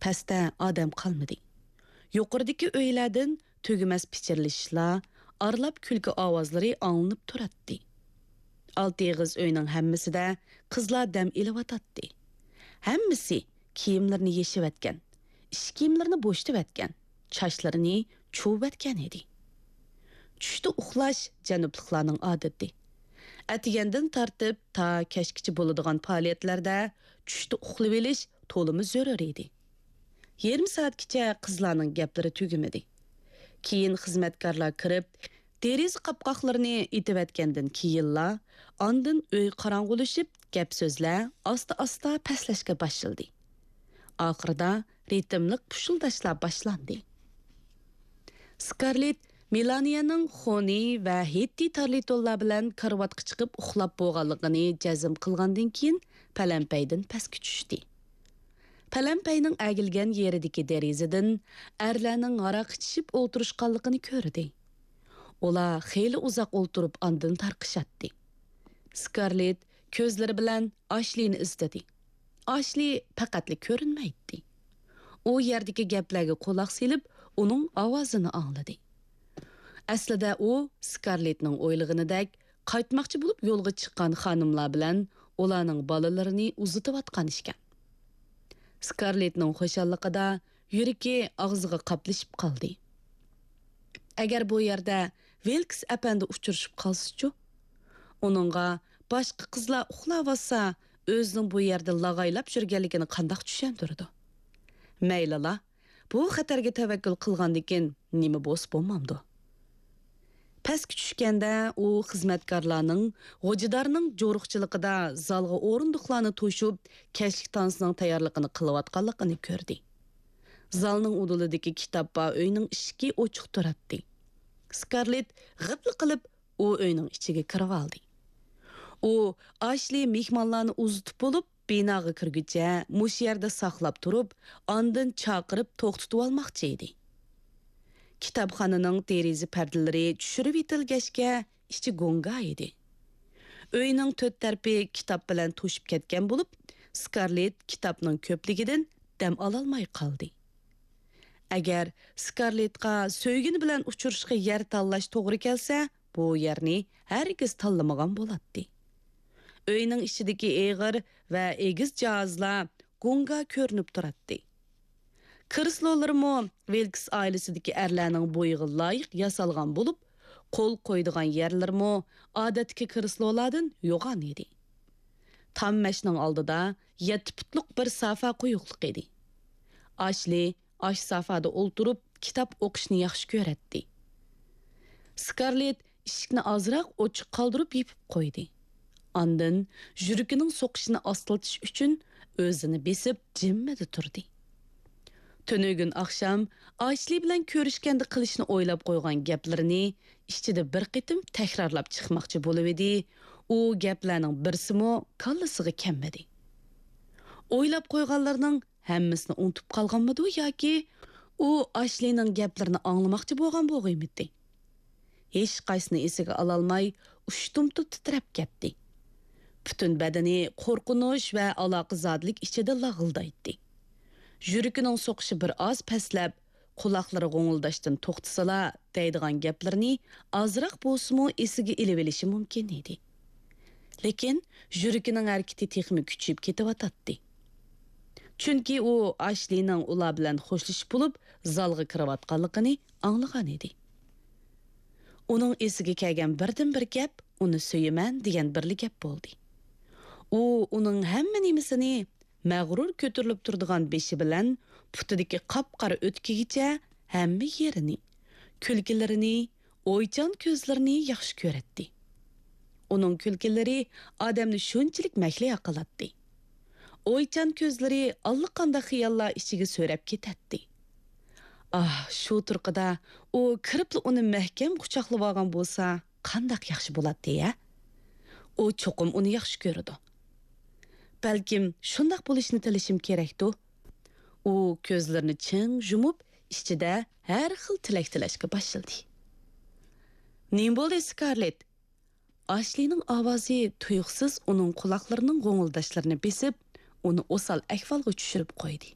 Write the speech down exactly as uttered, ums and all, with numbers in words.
پەستە ئادەم قالمىدى. يۇقىرىدىكى ئۆيلەردىن تۈگىمەس پىچىرلىشىشلار، ئارىلاپ كۈلكە ئاۋازلىرى ئاڭلىنىپ تۇراتتى. ئالتە ئېغىز ئۆينىڭ ھەممىسىدە قىزلار دەم ئېلىۋاتاتتى. ھەممىسى كىيىملىرىنى يېشىۋەتكەن، ئىش كىيىملىرىنى بوشىتىۋەتكەن، چاچلىرىنى چۇۋۇۋەتكەن ئىدى. چۈشتە ئۇخلاش جەنۇبلۇقلارنىڭ ئادىتى. ئەتىگەندىن تارتىپ تا كەچكىچە بولىدىغان پائالىيەتلەردە چۈشتە ئۇخلىۋېلىش تولىمۇ زۆرۈر ئىدى. يېرىم سائەتكىچە قىزلارنىڭ گەپلىرى تۈگىمىدى. كېيىن خىزمەتكارلار كىرىپ، دېرىزە قاپقاقلىرىنى ئېتىۋەتكەندىن كېيىنلا، ئاندىن ئۆي قاراڭغۇلىشىپ، گەپ-سۆزلەر ئاستا-ئاستا پەسلەشكە باشلىدى. ئاخىرىدا رىتىملىق پۇشۇلداشلار باشلاندى. سكارلېت مېلانىيەنىڭ خونى ۋە ھېتتى تارلىتونلار بىلەن كارىۋاتقا چىقىپ ئۇخلاپ بولغانلىقىنى جەزم قىلغاندىن كېيىن، پەلەمپەيدىن پەسكە چۈشتى. پەلەمپەينىڭ ئەگىلگەن يېرىدىكى دېرىزىدىن ئەرلەرنىڭ ھاراق ئىچىشىپ ئولتۇرۇشقانلىقىنى كۆردى. ئۇلار خېلى ئۇزاق ئولتۇرۇپ ئاندىن تارقىشاتتى. سكارلېت كۆزلىرى بىلەن ئاشلىنى ئىزدىدى. ئاشلى پەقەتلا كۆرۈنمەيتتى. ئۇ يەردىكى گەپلەرگە قۇلاق سېلىپ، ئۇنىڭ ئاۋازىنى ئاڭلىدى. ئەسلىدە ئۇ سكارلېتنىڭ ئويلىغىنىدەك قايتماقچى بولۇپ يولغا چىققان خانىملار بىلەن ئۇلارنىڭ بالىلىرىنى ئۇزىتىۋاتقان ئىكەن. سكارلېتنىڭ خۇشاللىقىدا يۈرىكى ئاغزىغا قاپلىشىپ قالدى. ئەگەر بۇ يەردە ۋىلكس ئەپەندى ئۇچرىشىپ قالسىچۇ؟ ئۇنىڭغا باشقا قىزلار ئۇخلاۋاتسا، ئۆزىنىڭ بۇ يەردە لاغايلاپ يۈرگەنلىكىنى قانداق چۈشەندۈرىدۇ؟ مەيلىلا، بۇ خەتەرگە تەۋەككۈل قىلغاندىكىن نېمە بولسا بولمامدۇ؟ پەسكە چۈشكەندە ئۇ خىزمەتكارلارنىڭ غوجىدارنىڭ جورۇقچىلىقىدا زالغا ئورۇندۇقلارنى توشۇپ، كەچلىك تانسىنىڭ تەييارلىقىنى قىلىۋاتقانلىقىنى كۆردى. زالنىڭ ئۇدۇلىدىكى كىتاب بار ئۆينىڭ ئىشىكى ئوچۇق تۇراتتى. سكارلېت غىپلا قىلىپ ئۇ ئۆينىڭ ئىچىگە كىرىۋالدى. ئۇ ئاشلى مېھمانلارنى ئۇزىتىپ بولۇپ، بىناغا كىرگۈچە مۇشۇ يەردە ساقلاپ تۇرۇپ، ئاندىن چاقىرىپ توختىتىۋالماقچى ئىدى. كىتابخانىنىڭ دېرىزە پەردىلىرى چۈشۈرۈۋېتىلگەچكە، ئىچى گۇڭگا ئىدى. ئۆينىڭ تۆت تەرىپى كىتاب بىلەن توشۇپ كەتكەن بولۇپ، سكارلېت كىتابنىڭ كۆپلۈكىدىن دەم ئالالماي قالدى. ئەگەر سكارلېتقا سۆيگىنى بىلەن ئۇچرىشىشقا يەر تاللاش توغرا كەلسە، بۇ يەرنى ھەرگىز تاللىمىغان بولاتتى. ئۆينىڭ ئىچىدىكى ئېغىر ۋە ئېگىز جاھازلار گۇڭگا كۆرۈنۈپ تۇراتتى. كىرسلولىرىمۇ ۋىلكس ئائىلىسىدىكى ئەرلەرنىڭ بويىغا لايىق ياسالغان بولۇپ، قول قويىدىغان يەرلىرىمۇ ئادەتتىكى كىرسلولاردىن يوغان ئىدى. تام مەشنىڭ ئالدىدا يەتتە پۇتلۇق بىر سافا قويۇقلۇق ئىدى. ئاشلى ئاش سافادا ئولتۇرۇپ كىتاب ئوقۇشنى ياخشى كۆرەتتى. سكارلېت ئىشىكنى ئازراق ئوچۇق قالدۇرۇپ يېپىپ قويدى. ئاندىن يۈرىكىنىڭ سوقۇشىنى ئاستىلىتىش ئۈچۈن ئۆزىنى بېسىپ جىممىدە تۇردى. تۈنۈگۈن ئاخشام ئاشلى بىلەن كۆرۈشكەندە قىلىشنى ئويلاپ قويغان گەپلىرىنى ئىچىدە بىر قېتىم تەكرارلاپ چىقماقچى بولۇۋىدى، ئۇ گەپلەرنىڭ بىرسىمۇ كاللىسىغا كەلمىدى. ئويلاپ قويغانلىرىنىڭ ھەممىسىنى ئۇنتۇپ قالغانمىدۇ ياكى ئۇ ئاشلىنىڭ گەپلىرىنى ئاڭلىماقچى بولغان بولغىيمىدى؟ ھېچقايسىنى ئېسىگە ئالالماي، ئۇشتۇمتۇت تىترەپ كەتتى. پۈتۈن بەدىنى قورقۇنچ ۋە ئالاقىزادىلىك ئىچىدە لاغىلدايتتى. يۈرىكىنىڭ سوقۇشى بىر ئاز پەسلەپ، قۇلاقلىرى غوڭۇلداشتىن توختىسىلا، دەيدىغان گەپلىرىنى ئازراق بولسىمۇ ئېسىگە ئېلىۋېلىشى مۇمكىن ئىدى. لېكىن يۈرىكىنىڭ ھەرىكىتى تېخىمۇ كۈچىيىپ كېتىۋاتاتتى. چۈنكى ئۇ ئاشلىنىڭ ئۇلار بىلەن خوشلىشىپ بولۇپ، زالغا كىرىۋاتقانلىقىنى ئاڭلىغان ئىدى. ئۇنىڭ ئېسىگە كەلگەن بىردىنبىر گەپ ئۇنى سۆيىمەن دېگەن بىرلا گەپ بولدى. ئۇ ئۇنىڭ ھەممە نېمىسىنى، مەغرۇر كۆتۈرۈلۈپ تۇرىدىغان بېشى بىلەن پۇتىدىكى قاپقارا ئۆتۈكىگىچە ھەممە يېرىنى، كۈلكىلىرىنى، ئويچان كۆزلىرىنى ياخشى كۆرەتتى. ئۇنىڭ كۈلكىلىرى ئادەمنى شۇنچىلىك مەھلىيا قىلاتتى. ئويچان كۆزلىرى ئاللىقانداق خىياللار ئىچىگە سۆرەپ كېتەتتى. ئاھ، شۇ تۇرقىدا ئۇ كىرىپلا ئۇنى مەھكەم قۇچاقلىۋالغان بولسا، قانداق ياخشى بولاتتى ھە؟ ئۇ چوقۇم ئۇنى ياخشى كۆرىدۇ. بەلكىم شۇنداق بولۇشىنى تىلىشىم كېرەكتۇ؟ ئۇ كۆزلىرىنى چىڭ يۇمۇپ، ئىچىدە ھەر خىل تىلەك تىلەشكە باشلىدى. نېمە بولدى، سكارلېت؟ ئاشلىنىڭ ئاۋازى تۇيۇقسىز ئۇنىڭ قۇلاقلىرىنىڭ غوڭۇلداشلىرىنى بېسىپ، ئۇنى ئوسال ئەھۋالغا چۈشۈرۈپ قويدى.